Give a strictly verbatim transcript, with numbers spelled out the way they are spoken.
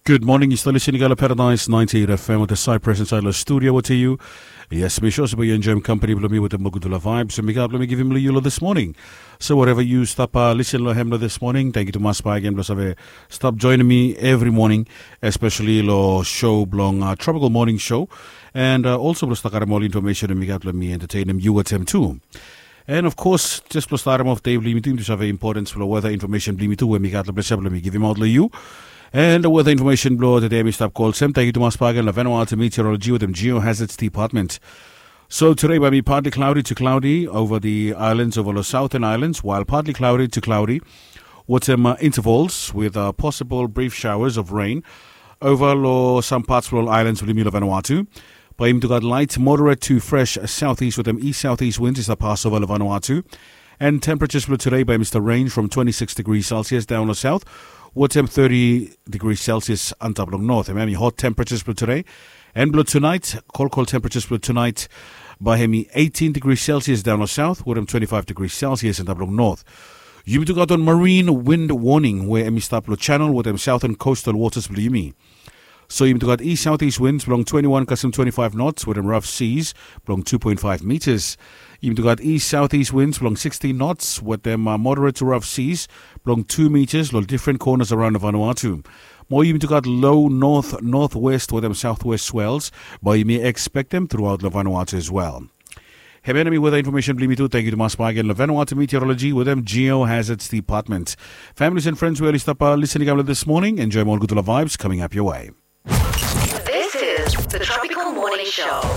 Gud moning, yu stap lisin i gat long Paradise ninety-eight F M wetem Cypress insaed long studio wetem yu. Yes, mi sua se bae yu enjoem kampani blong mi wetem ol gudfala vaebs we mi gat blong mi givim long yu long this morning. So whatever yu stap lisin long hem long this morning, tangkiu tumas bakegen blong save stap joenem mi evri moning, especially long show blong Tropical Morning Show, and also blong stap karem ol infomesen we mi gat blong mi entetenem yu wetem tu. And of course, jes blong statem of dei blong yumi tu, yumi tu save importance blong weather information blong yumi tu we mi gat long ples ya blong mi givimaot long yu. And weather information blong tede mi stap go olsem, tangkiu tumas bakegen long Vanuatu Meteorology wetem Geohazards Department. So today bae i partly cloudy to cloudy over the islands, over long southern islands, while partly cloudy to cloudy wetem intervals with possible brief showers of rain over long some parts blong ol islands blong yumi long Vanuatu. Bae yumi tu gat light moderate to fresh southeast wetem east southeast winds i stap pasova long Vanuatu. And temperatures blong today bae i stap range from twenty-six degrees Celsius down long south wetem thirty degrees Celsius antap long north. Hemia hemi hot temperatures blong today. And blong tonight, kolkol temperatures blong tonight bae hemi eighteen degrees Celsius down long south wetem twenty-five degrees Celsius antap long north. Yumi tu gat wan marine wind warning we hemi stap long channel wetem southern coastal waters blong yumi. So yumi tu gat east southeast winds blong twenty-one kasem twenty-five knots wetem rough seas blong two point five meters. Yumi tu gat east southeast winds blong sixteen knots wetem moderate to rough seas blong two meters long different corners around Vanuatu. Mo yumi tu gat low north northwest wetem southwest swells bae yumi expectem throughout long Vanuatu as well. Hemia hemi weather information blong yumi tu. Tangkiu tumas bakegen long Vanuatu Meteorology wetem Geohazards Department. Families and friends we oli stap lisin i kam long this morning, enjoem ol gudfala vaebs coming up your way. This is the Tropical Morning Show.